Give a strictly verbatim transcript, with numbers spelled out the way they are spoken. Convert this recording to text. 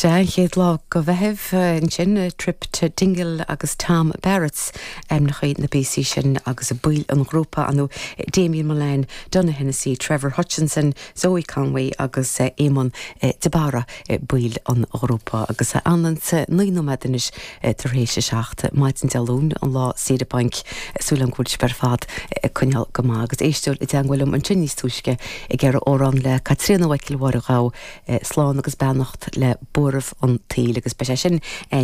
Sé an chéad lá de Mheitheamh ansin Trip to Dingle agus Tom Barrett's ainmneacha na bpíosaí sin agus a baill an ghrúpa anú Damien Mullane, Donna Hennessy, Trevor Hutchinson, Zoe Conway agus Eamon de Barra baill an ghrúpa agus an naoi nóiméad anois tar éis a seacht maidin Dé Luain an lá saoire bainc súil agam go bhfuil sibh ar fad coinneáil go maith agus éisteoir i dteagmháil liom ansin níos túisce ag iarraidh amhrán le Caitríona Mhichíl Mháire Ghabha slán agus beannacht le buaireamh an tsaoil agus be sé sin